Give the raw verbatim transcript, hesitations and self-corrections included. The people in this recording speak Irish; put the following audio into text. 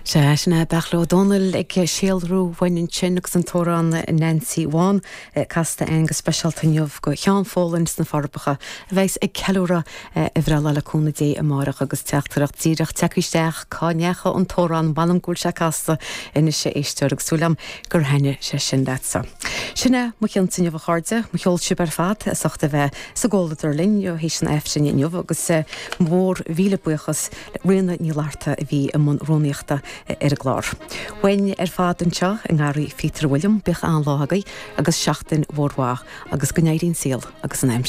Sé sin é Beartla Ó Domhnaill ag síolrú uainn ansin agus an t-amhrán Nancy Bhán casta againn go speisialta inniu do Sheán Folan sna Forbacha a bheas ag ceiliúradh a bhreithlá le cúnamh Dé amárach agus teachtaireacht díreach tagtha isteach cá ndeachaigh an t-amhrán m'anam go bhfuil sé casta anois a éisteoir agus súil agam gur thaitnigh sé sin leatsa. Sin é mo chionn inniu a chairde, mo cheol sibh ar fad as ucht a bheith sa gcomhluadar linn ó théis an Aifrinn inniu agus mór mhíle buíochas le Ríona Ní Fhlatharta a bhí i mbun rúnaíochta ar an gclár. Uainn ar fad anseo i nGarraí Phíotair William bíodh an-lá agaibh agus seachtain mhór mhaith agus go n-éirí an saol agus an aimsir.